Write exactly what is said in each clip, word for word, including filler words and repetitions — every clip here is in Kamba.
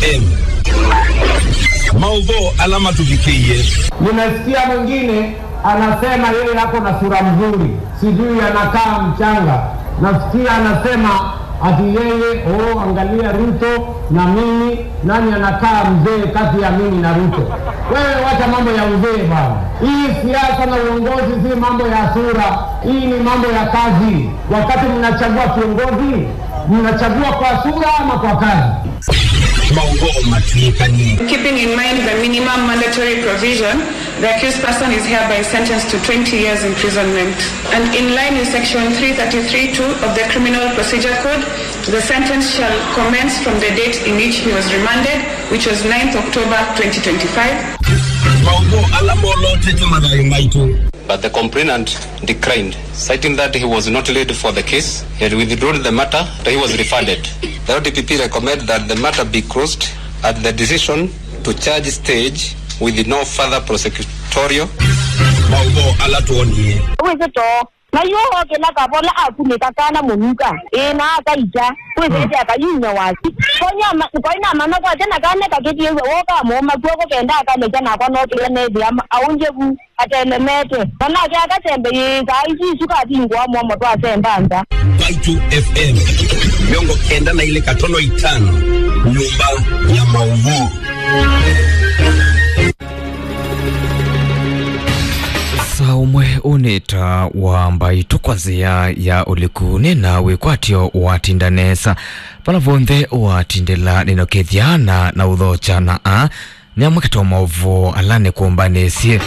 M. Maũvoo ala matũvikĩie. Nimesikia mwingine anasema yeye ako na sura mzuri, sijui anakaa mchanga. Nasikia anasema ati yeye, oh, angalia Ruto na mimi, nani anakaa mzee kati ya mimi na Ruto? Wewe wacha mambo ya uzee bwana. Hii siasa na uongozi si mambo ya sura, hii ni mambo ya kazi. Wakati mnachagua kiongozi, mnachagua kwa sura ama kwa kazi? Maũvoo matw'ĩkanie. Keeping in mind the minimum mandatory provision, the accused person is hereby sentenced to twenty years imprisonment. And in line with section three thirty-three two of the Criminal Procedure Code, the sentence shall commence from the date in which he was remanded, which was ninth October twenty twenty-five. Maũvoo ala molotete mathayũ maitũ. But the complainant declined, citing that he was not laid for the case. He had withdrawn the matter that he was referred. The O D P P recommend that the matter be closed at the decision to charge stage with no further prosecutorial. Maũvoo ala twonie. Wĩsĩ too, na yu okĩla kavola akunĩka kana mũnuka, ĩĩ, na akaita, wĩsĩ ĩte akayumya wasi. Koinamanya kwate na kana kakĩtiĩw'a woka mũũma kw'oko kenda akalekya nakwa nokĩla nethĩa aũngye vu. Atelemete. Na nake akasembe yĩĩkaa isu isu kavingũa mwomo twasemba nza. Mbaitũ F M, mĩongo kenda na ilĩ katono itano, nyũmba ya maũvoo. Saa ũmwe ũnĩta wa Mbaitũ kwa nzĩa ya ũliku nĩ na wĩkwatyo watinda nesa. Vala vonthe watindĩla nĩnokethya na na ũthokya na a Nĩ amwe katĩ wa maũvoo ala nĩkũmbanĩsye.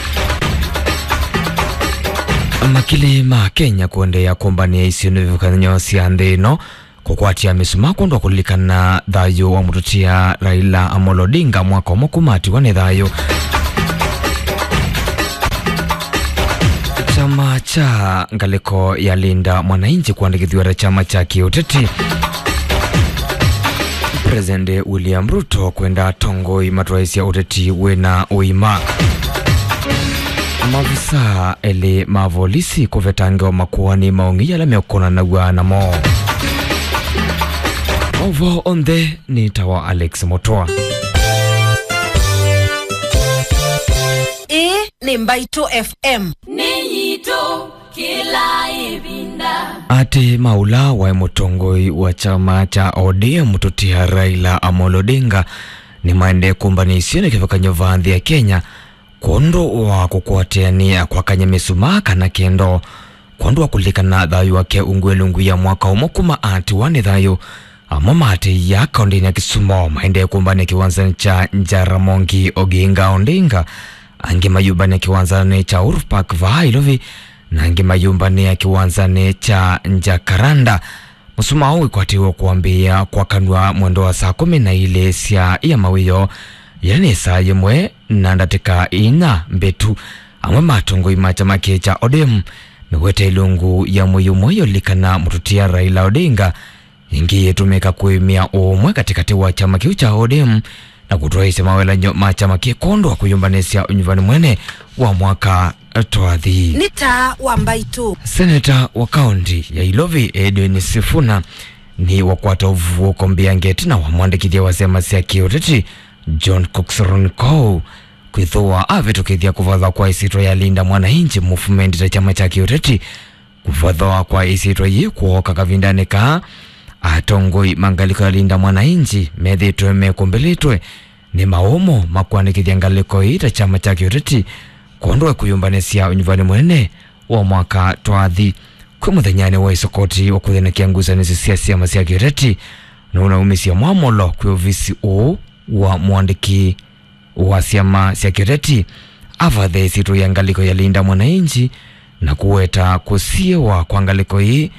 Makili ma Kenya kũendeea kũmbanĩa isio nĩ ivathũkany'o sya nthĩ ĩno kũkwatya mĩsumaa kwondũ wa kũlilikana thayũ wa mũtũtia Raila Amolo Odinga mwaka ũmwe kuma atiwa nĩ thayũ. Kyama kya ngalĩko ya Linda Mwananchi kũandĩkĩthw'a ta kyama kya kĩũteti. President William Ruto kwenda atongoi matwaĩsya ũteti wĩna ũima. Maofisa elĩ ma volisi kũvetangĩwa makoani ma ũng'ei ala meũkonanaw'a namo. Maũvoo onthe nĩ ta wa Alex Mũtũa. Ĩĩ nĩ Mbaitũ F M. Nĩ yitũ. Kĩla ĩvinda. Atĩ ma ũla waĩ mũtongoi wa kyama kya O D M mũtũtia Raila Amolo Odinga nĩmaendee kũmbanĩa isio nĩ kĩvathũkany'o va nthĩ ya Kenya kwondũ wa kũkwatanĩa kwakany'a mĩsumaa kana kendo kwondũ wa kũlilikana thayũ wake ungu ilungu ya mwaka ũmwe kuma atiwa nĩ thayũ. Amwe ma atĩĩa kaũndĩnĩ ya Kisumo maendee kũmbanĩa kĩwanzanĩ kya Jaramogi Oginga Odinga, angĩ mayũmbanĩa kĩwanzanĩ kya Uhuru Park vaa Nairobi, na angĩ mayũmbanĩa kĩwanzanĩ kya Jacaranda. Mũsumaa ũũ wĩkwatĩĩwe kwambĩĩa kwakanw'a mwendo wa saa kũmi na ilĩ sya ia mawĩoo, yĩla nĩ saa yĩmwe na ndatĩka inya mbĩtu. Amwe ma atongoi ma kyama kĩĩ kya O D M mewete ilungu ya mwei ũmwe yũlikana mũtũtia Raila Odinga, ĩngĩ yĩtũmĩka kũĩmĩa ũũmwe katĩkatĩ wa kyama kĩu kya O D M na kũtwaĩĩsya mawelany'o ma kyama kĩĩ kwondũ wa kwĩyũmbanĩsya ũnyuvani mũnene wa mwaka twathi. Nĩ taa wa Mbaitũ. Seneta wa kaũntĩ ya Ilovi Edwin Sifuna nĩ wakwata ũvuũko mbeange ĩtina wa mwandĩkĩthya wa syama sya kĩũteti John Cox Ronco kwĩthĩwa avĩtũkĩthya kũvathwa kwa ĩsyĩtwa ya Linda Mwananchi Movement ta kyama kya kĩũteti. Kũvathwa kwa ĩsyĩtwa yĩĩ kwooka kavindanĩ kaa atongoi ma ngalĩko ya Linda Mwananchi methĩĩtwe mekũmbĩlĩtwe nĩ maũmo ma kũandĩkĩthya ngalĩko ĩĩ ta kyama kya kĩũteti kwondũ wa kwĩyũmbanĩsya ũnyuvani mũnene wa mwaka twathi. Kwĩ mũthenyanĩ wa ĩsokoti wa kũthĩnĩkĩa ngusanĩsyo sya syama sya kĩũteti nũnaumisye mwamũlo kwĩ ovisi ũũ wa mũandĩki wa syama sya kĩũteti avathe ĩsyĩtwa ya ngalĩko ya Linda Mwananchi na kũweta kũsiĩwa kwa ngalĩko ĩĩ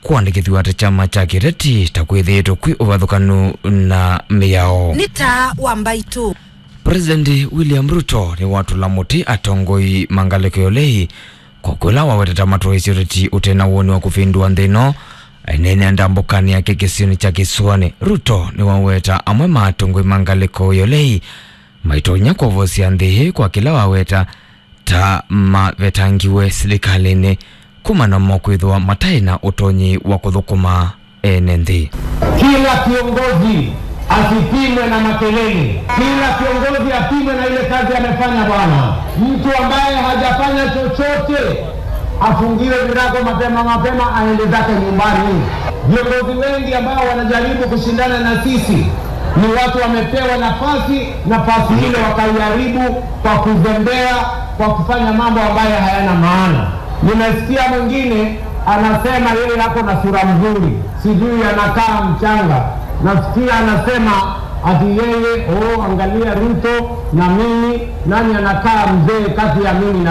kũandĩkĩthw'a ta kyama kya kĩũteti ta kwĩthĩĩtwe kwĩ ũvathũkanu na mĩao. Nĩ taa wa Mbaitũ. President William Ruto nĩwatũla mũtĩ atongoi ma ngalĩko ya ũlei kwa kũla waweteta matwaĩsye ũteti ũte na woni wa kũvĩndũa nthĩ ĩno. Eneenea ndambũkanĩ yake kĩsionĩ kya Kĩsũanĩ, Ruto nĩwaweta amwe ma atongoi ma ngalĩko ya ũlei maitonya kwovosya nthĩ ĩĩ kwa kĩla waweta ta mavetangiwe silikalĩnĩ kumana mo kwĩthĩwa mataĩ na ũtonyi wa kũthũkũma ene nthĩ. Kila kiongozi asipimwe na makelele. Kila kiongozi apimwe na ile kazi amefanya, bwana. Mtu ambaye hajafanya chochote afungiwe virago mapema mapema, aende zake nyumbani. Viongozi wengi ambao wanajaribu kushindana na sisi ni watu wamepewa nafasi, nafasi ile wakaiharibu kwa kuzembea, kwa kufanya mambo ambayo hayana maana. Nimesikia mwingine anasema yeye ako na sura mzuri, sijui anakaa mchanga. Nasikia anasema ati yeye, oh, angalia Ruto na mimi, nani anakaa mzee kati ya mimi na